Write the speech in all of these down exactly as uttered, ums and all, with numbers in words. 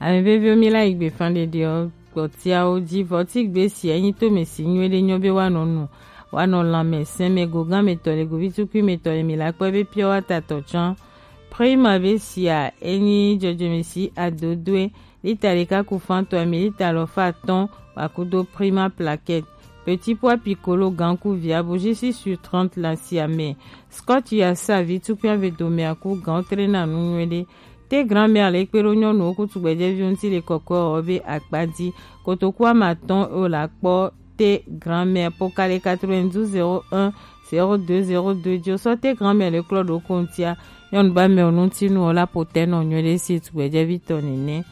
Ame veviwo, mi la yi gbe fan ɖeɖeɔ gbɔtiawo ji vɔ ti gbe si enyi to me si nyuie ɖe nyɔ be woanɔ nu, woanɔ lanmɛ sɛnmɛ gogan me tɔ le govi tukui me tɔ le mi la kpɔ be pure water tɔ tsã. Prima be sia enyi dzɔdzɔme si adodoe lita ɖeka ku fan tɔ mi lita alɔfa atɔ̃ wa kudo Prima plaquette. Petit pois piccolo gan ku via bougie six sur trente la sia me. Scotch ya sa vi tukui ave do me aku gan trena nu nyuie ɖe. Te grand-mère le kpe ɖo nyɔnuwo ku tugbɛjɛviwo ŋuti le kɔkɔe ɔ be akpa ji. Kotoku ame atɔ̃ o la kpɔ te grand-mère pokale quatre-vingt-douze zéro un zéro deux zéro deux ji o sɔ te grand-mère le klɔ ɖo ko ŋutia. Nyɔnu ba mɛ o ŋuti nu o la potɛ nɔ nyuie ɖe si tugbɛjɛvi tɔ nene.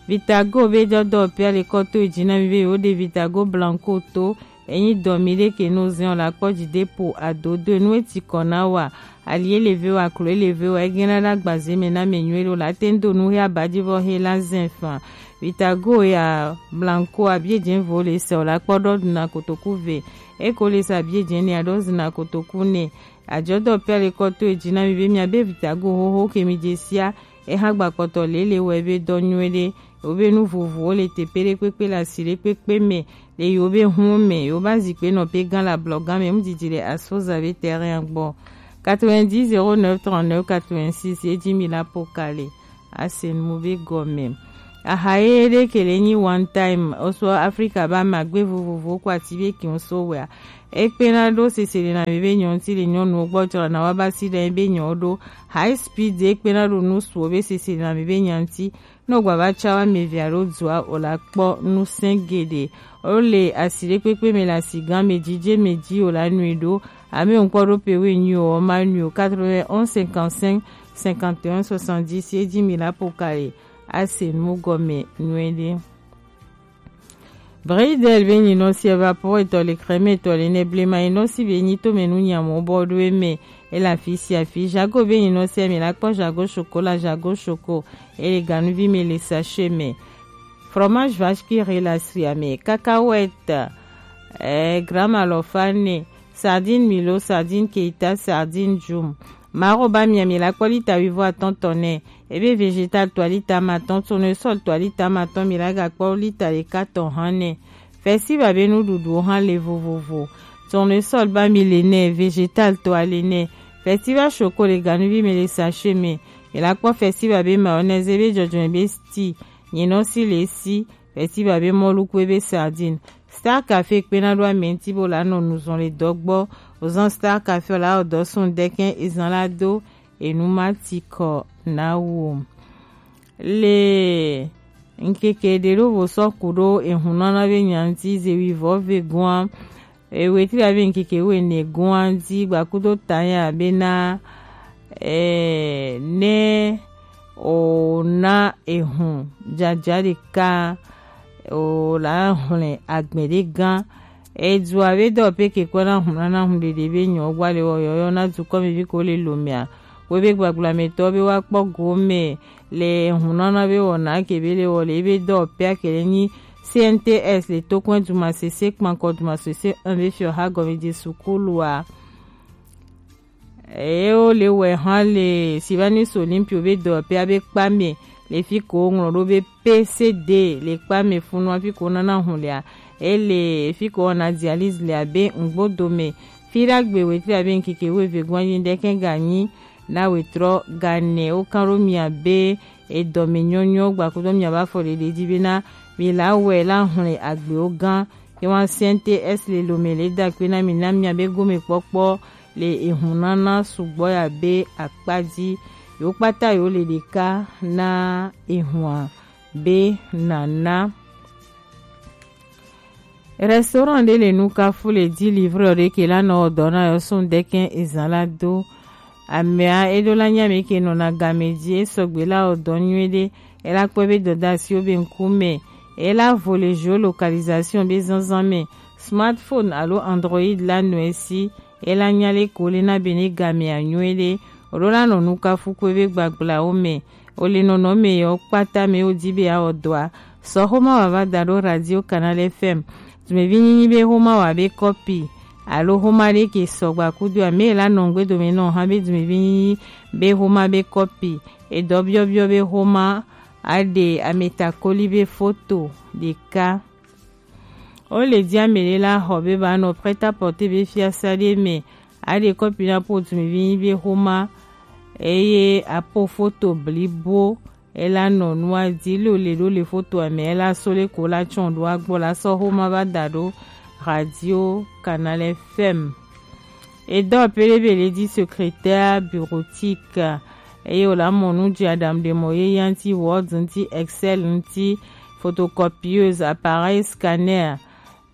Vitago be jɔ dɔ pia le kɔ to yi ji na mi be yewo ɖe Vitago Blanco to. Enyi dɔ mi ɖe ke no zɛn o la kpɔ ji de po adodo nu eti kɔ na wa. Ali ele ve wa klo ele ve wa egena ɖa gbaze me na me nyuie ɖo la te ŋdo nu he abaji vɔ he la zɛn fan. Vitago ya Blanco abie jɛn vo le se o la kpɔ ɖɔ duna kotoku ve. Eko le se abie jɛn ne aɖɔ zina kotoku ne. Ajɔ dɔ pia le kɔ to yi ji na mi be mi abe Vitago hoho ke mi je sia. Eha gba kpɔtɔ lele wɛ be dɔ nyuie ɖe. Yewo be nu vovovowo le teƒe ɖekpekpe le asi ɖekpekpe me le yewo be hun me. Yewo ba zikpe nɔ pe gan le ablɔgan me ŋdidi le Asfoza be terrain gbɔ. Quatre-vingt-dix zéro neuf trente-neuf quatre-vingt-six ye ji mi la pokale. Ase nu be gɔme. Aha ye ɖe ke le nyi one time oso Afrika ba magbe vovovo ko ati be kiŋ so wɛa. Ekpena ɖo sese le na mi be nyɔnu ti le nyɔnuwo gbɔ jɔ na wa ba si ɖe be nyɔ ɖo. High speed ekpena ɖo nu suwo be sese le na mi be nyanti. Ne wògba va tsa woame evea ɖo dua o la kpɔ ŋusẽ geɖe. Wole asi ɖekpekpe me le asigã me, dzidze me dzi o la nui ɖo. Ame ŋkpɔ ɖo pe woe nyui o, ma nui o. Quatre-vingt-onze cinquante-cinq cinquante et un soixante-dix ye dzi mi la pokale ase nu gɔme nyuie ɖe. Bridel be nyinɔsi evaporetɔ le crème etɔ le ne blema nyinɔsi be nyi tome nu nyamo bɔ ɖo eme. Ele afi sia afi. Jago be nyinɔsi ame la kpɔ jago chocolat, jago choco. Ele ganuvi me le sachet me. Fromage vache qui rit la sia me. Cacahuète, eh, gramme alɔfa ne. Sardine Milo, sardine Keita, sardine Jum. Maro ba mia mi la kpɔ lita wuivo atɔ̃ tɔ nɛ. Ebe végétal to lita ma tɔ̃, tournesol to lita ma tɔ̃ mi la ga kpɔ lita ɖeka tɔ hã nɛ. Festival be nuɖuɖuwo hã le vovovo. Tournesol ba mi le nɛ, végétal to le nɛ. Festival choco le ganuvi me le sachet me. Mi la kpɔ festival be mayonnaise be jɔjɔme be sti. Nyinɔsi le si. Festival be mɔlu kue be sardine. Star Café kpena ɖo ame ŋuti bo la nɔ nu zɔn le dɔ gbɔ. Ozan Star Café la o dɔ sun dɛkɛn ezan la do enu ma ti kɔ na wo. Le ŋkeke ɖe ɖo vo sɔ ku ɖo ehun nana be nyanti ze wi vɔ ve gua. Ewetri abe ŋkeke wo ene gua di gbakudo tanya be na eh, ne o na ehun jaja ɖeka o la hlẽ agbe ɖe gã. Edua be dɔ pe ke kɔ na hun na na hun ɖeɖe be nyɔ gba le wɔ yɔyɔ na dukɔ mi vi ko le lomia. Wo be gbagba me tɔ be wa kpɔ go me le hun na na be wɔ na ke be le wɔ le be dɔ pe ke le nyi C N T S le to kɔn duma sese kpankɔ duma sese un be fiɔ ha gɔme je sukulua. Eye wole wɛ hã le Sylvanus Olympio be dɔwɔƒea be kpa me le fi ko woŋlɔ ɖo be P C D le kpa me funua fi ko wonana hun lea. Ele fi ko wowɔna dialyse lea be Ŋgbodo me. Fi ɖagbe wetri abe ŋkeke wuieve gbɔ anyi ɖekɛ ganyi na wetrɔ gane. Wokan ɖo mia be edɔme nyɔnyɔ gbakudo miabe afɔɖeɖe dzi bena mi la wɛ la hlẽ agbewo gã. Yewan C N T S le lome le da akpe na mi na miabe gomekpɔkpɔ le ehun nana sugbɔ ya be akpa dzi. Yewo kpata yewo le ɖeka na ehua be nana. Restaurant ɖe le Nukafu le di livreur ɖe ke la nɔ dɔ na yɔ sun dɛkɛ ezan la do. Amea eɖo la nya me ke nɔna game dzi esɔgbe la wɔ dɔ nyuie ɖe. Ela kpɔe be dɔdasiwo be ŋkume ela vo le géolocalisation be zanzan me. Smartphone alo Android la nɔ esi. Ela nya le ko le na be ne gamea nyuie ɖe. Oɖo la nɔ Nukafu kpɔe be gbagblãwo me. Ole nɔnɔme yewo kpata me wodi be awɔ dɔa. Sɔ xoma wava da ɖo Radio Canal F M. Dumevi nyinyi be xoma wa be kɔpi alo xoma ɖe ke sɔgba kudo ame la nɔ ŋgbe dome nɔ hã be dumevi nyinyi be xoma be kɔpi. Edɔ biɔbiɔ be xoma Aɖe ametakoli be foto ɖeka. Wo le ji ame ɖe la xɔ be ba nɔ prêt-à-porter be fiasa ɖe me. Aɖe kɔpi na po dumivi nyi be xoma eye apo foto blibo ela nɔ nua di lo le ɖo le fotoa me ela so le ko la tsɔn ɖo agbɔ la sɔ xoma ba da ɖo Radio Canal F M. Edɔ pele be le di secrétaire bureautique eye wòle amɔ nu dzi aɖaŋuɖemɔ yeye ŋuti, Word ŋuti, Excel ŋuti, photocopieuse, appareil scanner,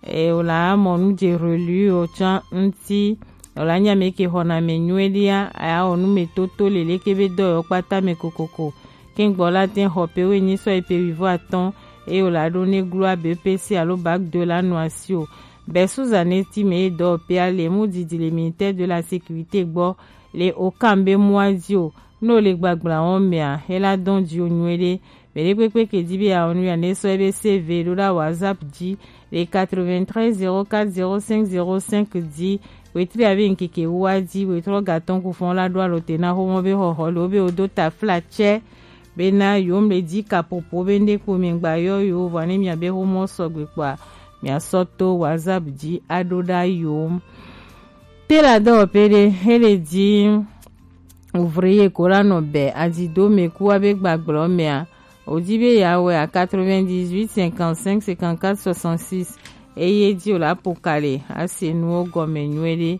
eye wòle amɔ nu dzi reliure tsã ŋuti. Wòle anya ame ke xɔna ame nyuie ɖia, aya wɔ nu me toto le leke be dɔ yɔ kpata me kokoko. Kɛngbɔ la tɛ xɔ pe wenyi sɔ yi pe wivo atɔn eye wòle aɖo ne glo abe P C alo bac deux la nɔ asi o. Bɛsu zaneti me ye dɔ pe ale mu didi le ministère de la sécurité gbɔ le okan be mua di o. Ne wòle gbagbla wɔm mea, ela dɔn dzi wo nyuie ɖe. Mɛ ɖe kpekpe ke di be yeawɔ nu ya ne sɔ ebe C V ɖo ɖa WhatsApp dzi le quatre-vingt-treize zéro quatre zéro cinq zéro cinq dzi. Wetri abe ŋkeke wua dzi wetrɔ gatɔn ku fɔn la ɖo alo te na xomɔ be xɔxɔ le wo be wodo tafla tsɛ bena yewo mle di kapopo be ŋɖe kpo mi ŋgba yɔ yewo vɔ ne miabe xomɔ sɔgbe kpoa miasɔ to WhatsApp dzi aɖo ɖa yewo. Te la dɔwɔƒe ɖe hele di ouvrier ko la nɔ bɛ adzido me ku abe gbagblɔ mea, wòdi be yeawɔe à quatre-vingt-dix-huit cinquante-cinq cinquante-quatre soixante-six eye di wòle apo ka le ase nuwo gɔme nyuie ɖe.